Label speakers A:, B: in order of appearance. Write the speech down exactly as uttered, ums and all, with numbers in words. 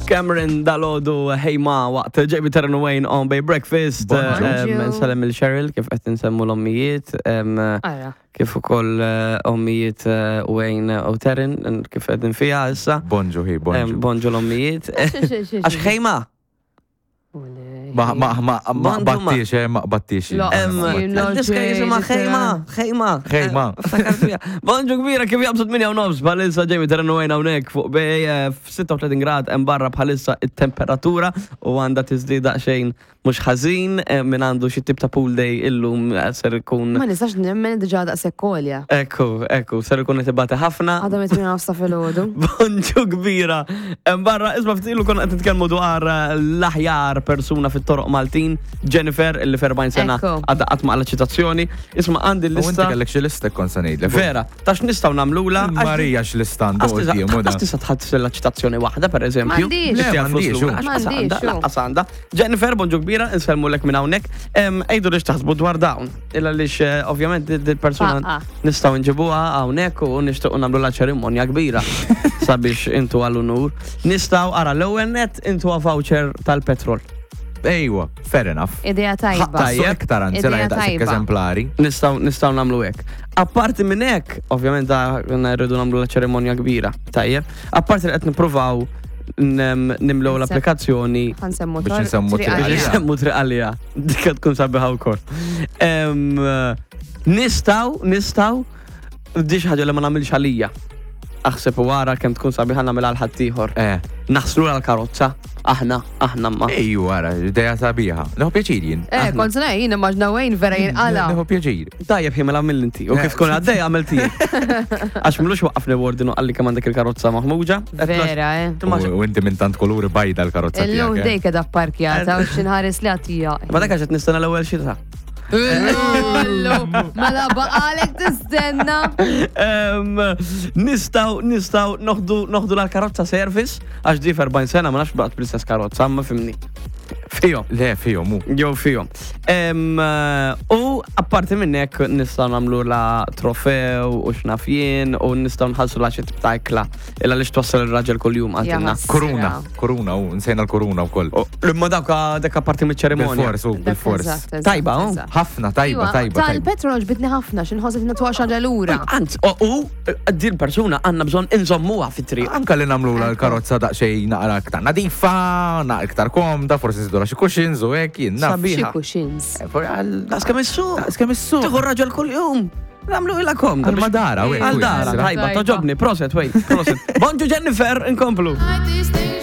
A: Cameron dalgħodu, Hey Ma, waqt Jamie, Taryn, Wayne on Bay Breakfast.
B: Bonġu.
A: Em, Nsellem lil Cheryl, kif qed nsemmu l-ommijiet, em,
C: Ara.
A: kif ukoll eh, ommijiet eh, Wayne u Taryn, kif qegħdin fiha issa.
B: Bonġu hi,
A: Em,
B: bonġu.
A: Bonġu l-ommijiet. Għax Hey Ma.
B: Ma ma ma ma
A: Bonġu ma.
B: battix, eh, ma battix.
C: La.
A: Em,
C: Jien lo
A: Diska jisimha
C: ġej,
A: Hey Ma, Hey Ma.
B: Hey Ma.
A: Ftakar fiha. Bonġu kbira, kif jaqbżu tmienja u nofs, bħalissa Jamie, Taryn, Wayne hawnhekk fuq Bay, eh, f-sitta u tletin grad hemm barra bħalissa it-temperatura u għandha tiżdied daqsxejn mhux ħażin, eh, min għandu xi tip ta' pool day illum eh, ser ikun
C: Ma nistax nemmen diġà daqshekk għolja.
A: Ekku, ekku, ser ikun qed ibati ħafna.
C: Għadha mit-tmienja nofs ta' filgħodu.
A: Bonġu kbira. Hemm barra, isma', ftit ilu konna qed nitkellmu dwar eh, l-aħjar persuna fit-toroq Maltin, Jennifer, illi f'erbgħin sena
C: Ekku.
A: għadha qatt ma qala ċitazzjoni. Isma', għandi
B: U inti
A: l-lista.
B: kellek xi lista kont se ngħidlek.
A: Vera, tax nistgħu nagħmlula.
B: Marija x'lista għandu qudiem u da.
A: Għax tista' tħadd ċitazzjoni waħda, per eżempju.
C: M'għandix.
B: Le,
A: Tista' flus
B: m'għandix,
A: lura.
B: u.
A: Għax qas
C: M'għandix,
A: għandha,
C: u.
A: lanqas għandha. Jennifer, bonġu kbira, insellmulek minn hawnhekk. Em, Ejdu li x'taħsbu dwar dawn. Illa lix eh, ovvjament dil-persuna
C: Faqqa.
A: nistgħu nġibuha hawnhekk u nixtiequ nagħmlu la ċerimonja kbira sabiex intu għall-unur. Nistgħu ara l-ewwel net intu voucher tal-petrol.
B: Ejwa, fair enough.
C: Idea tajba.
A: Tajjeb.
B: Tajjeb. Iktar anzi
C: Idea
B: la daqshekk
C: tajba.
B: eżemplari.
A: Nistgħu nistgħu nagħmlu hekk. Apparti minn hekk, ovvjament da rridu nagħmlu la ċerimonja kbira. Tajjeb. Apparti li qed nippruvaw nem- nimlew l-applikazzjoni
C: Ħa nsemmu
B: Biex nsemmu
C: triq
B: triq
A: biex
C: għalija.
B: għalija.
A: nsemmu triq għalija. Dik tkun sabiħa wkoll. Em, Nistgħu, nistgħu, di xi ħaġa li ma nagħmilx għalija. Aħseb u wara kemm tkun sabiħa nagħmilha għal ħaddieħor.
B: Eh,
A: Naħslu l-karozza, aħna, aħna ma.
B: Ejju, ara, idea sabiħa. Nieħu pjaċir jien.
C: Eh, kont se ngħid, jien immaġna Wayne vera jinqala.
B: Nieħu pjaċir.
A: Tajjeb, jien mela għamil inti. U kif tkun għaddej għamil tiegħek. Għax m'ilux waqqafni warden u qalli kemm għandek il-karozza maħmuġa.
C: Vera, eh.
B: U u inti minn tant kuluri bajda l-karozza
C: Illum
B: tiegħek. eh.
C: dejk edha parkjata u xinħares li għatija.
A: Ma dak għax qed nistenna l-ewwel xita.
C: Illu, mela baqalek tistenna.
A: Em, Nistgħu, nistgħu noħdu noħdu l-karozza service, għax di f'erbgħin sena ma nafx baqgħet bl-istess karozza, ma fimni. Fihom.
B: Le, fihom hu.
A: Jew fihom. Em, eh, U apparti minn hekk nistgħu nagħmlu la trofew u x'naf jien u nistgħu nħallsu la xi tip ta' ikla illa li twassal ir-raġel kuljum għandna.
C: Jaħasra.
B: Kuruna, kuruna, u nsejna l-kuruna wkoll.
A: Imma dawk dak apparti miċ-ċerimonja.
B: Bil-fors, u bil-fors.
C: Eżatt, eżatt,
A: Tajba, oh.
C: eżatt.
B: Ħafna, tajba,
C: Iwa,
B: tajba, tajba.
C: Tal-petrol ġbitni ħafna, xinħoset natwa xaġa lura.
A: Anzi, u u din persuna għandna bżonn inżommuha fit-triq.
B: Anka li nagħmlu l-karozza daqsxejn naqra iktar nadifa, naqra iktar komda, forsi nżidu xi cushions u hekk, jien naf.
A: Sabiħa.
C: Xi cushions.
B: Eh, for- għal-
A: Daqs kemm issuq.
B: Daqs kemm issuq.
A: Tieħu raġel kuljum. Nagħmlu ilha komda.
B: Għal madara, u hekk,
A: Għal
B: u
A: dara,
B: hekk.
A: tajba,
C: Tajba.
A: togħġobni, prosit, wait, prosit. Bonġu Jennifer, inkomplu.
D: These things